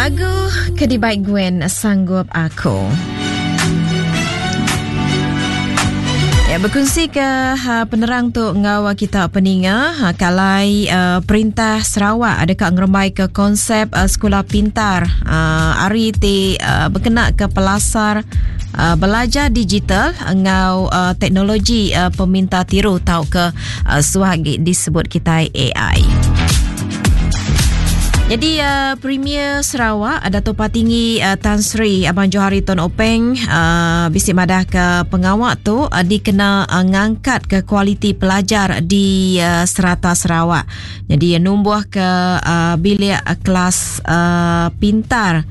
Lagu ke dibai Gwen Sanggup Aku. Ya, berkongsi ke ha, penerang tu ngau kita peninga ha, kalai uh, perintah Sarawak ada ka ngerembai ke konsep uh, sekolah pintar uh, ari ti uh, berkena ke pelasar uh, belajar digital ngau uh, teknologi uh, peminta tiru tau ke uh, suah agi disebut kita AI. Jadi uh, Premier Sarawak Dato' Patinggi uh, Tan Sri Abang Johari Tun Openg uh, bisi madah ke pengawa tu uh, dikena uh, ngangkat ke kualiti pelajar di uh, serata Sarawak. Jadi uh, numbuh ke uh, bilik uh, kelas uh, pintar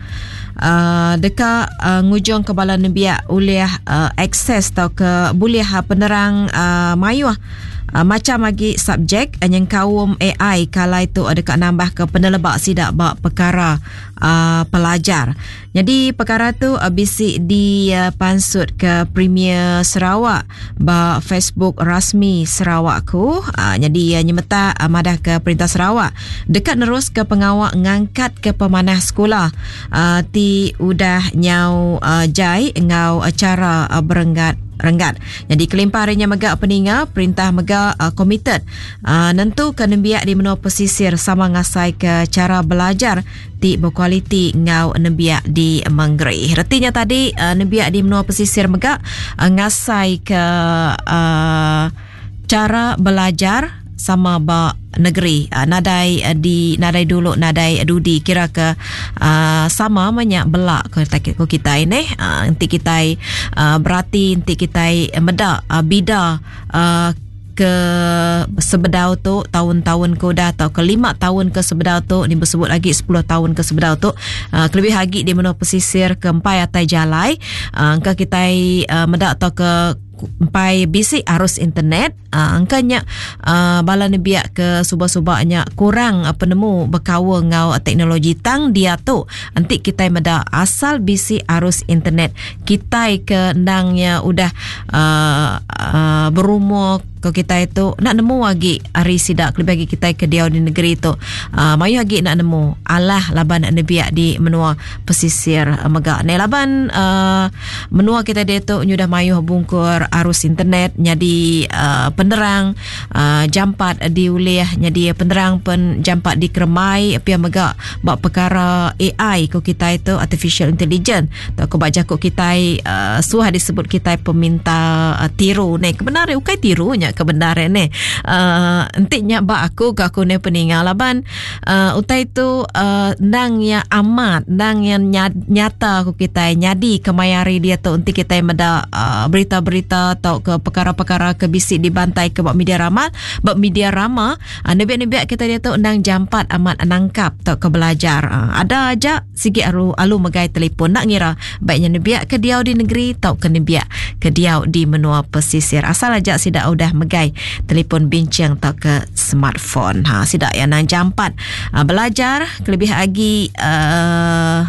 uh, deka uh, ngujung ke bala nembiak ulih uh, akses tau ke bulih uh, penerang uh, mayuh Macham agi subjek nyengkaum AI kalai tu deka nambahka peneleba sida ba pekara pelajar. Nyadi pekara tu bisi dipansutka Premier Sarawak ba Facebook rasmi Sarawakku. Nyadi nyemetak madahka Perintah Sarawak deka neruska pengawa ngangkatka pemanah sekula ti udah nyau jai enggau chara berenggat renggat. Nyadi kelimpah ari nya mega peninga, perintah mega uh, komited uh, nentuka nembiak di menua pesisir sama ngasaika chara belajar ti bekualiti enggau nembiak di mengeri. Reti nya tadi uh, nembiak di menua pesisir mega uh, ngasaika uh, chara belajar sama ba negeri uh, nadai uh, di nadai dulu nadai dudi kira ke uh, sama menya bela ko ko kita ini uh, enti kita uh, berati enti kita meda uh, bida uh, ke sebedau tu tahun-tahun ke udah atau ke 5 tahun ke sebedau tu ni bersebut lagi 10 tahun ke sebedau tu uh, kelebih lagi di menua pesisir ke empai atai jalai uh, engka kita uh, meda atau ke empai bisi arus internet uh, angka nya uh, bala nebiak ke suba-suba nya kurang uh, penemu bekaul enggau teknologi tang dia tu enti kitai meda asal bisi arus internet kitai ke endangnya udah uh, uh, berumur ko kitai tu nak nemu agi ari sida kelebih agi kitai ke diau di negeri tu uh, mayuh agi nak nemu alah laban nebiak di menua pesisir mega ne laban uh, menua kita diatu nyudah mayuh bungkur arus internet nyadi uh, penerang uh, jampat diulih nyadi penerang pen jampat dikerembai pia mega ba perkara AI ko kitai tu artificial intelligence tau ko ba jaku kitai uh, suah disebut kitai peminta uh, tiru ne kebenar ukai tiru nya kebenar ne uh, enti nya ba aku ke aku ne peninga laban uh, utai tu uh, endang ya amat endang ya nyata ku kitai nyadi kemaya hari dia tu enti kitai meda uh, berita-berita atau ke perkara-perkara ke bisi dibantai ke ba media rama ba media rama uh, nebiak-nebiak kita dia tu endang jampat amat nangkap atau ke belajar uh, ada aja sigi aru alu megai telefon nak ngira baiknya nebiak ke diau di negeri atau ke nebiak ke diau di menua pesisir asal aja sida udah megai telefon bincang atau ke smartphone ha sida yang nang jampat uh, belajar kelebih lagi uh,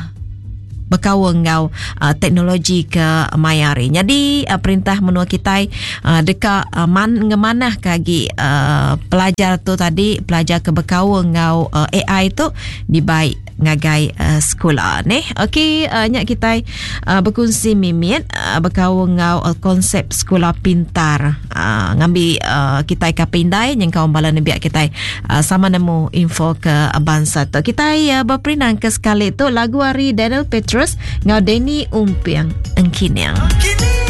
bekaul enggau uh, teknologi ke maya hari. Jadi uh, perintah menua kitai uh, deka uh, man ngemanah ke agi uh, pelajar tu tadi pelajar ke bekaul enggau uh, AI tu dibai ngagai uh, sekula neh. Okey uh, nya kitai uh, berkongsi mimit uh, bekaul enggau uh, konsep sekula pintar. Uh, ngambi uh, kitai ka pindai nyengkaum bala nembiak kitai uh, sama nemu info ke bansa tu. Kitai uh, berperindang ke sekali tu lagu ari Daniel Petrus enggau Danny Umping Engkining. Engkining.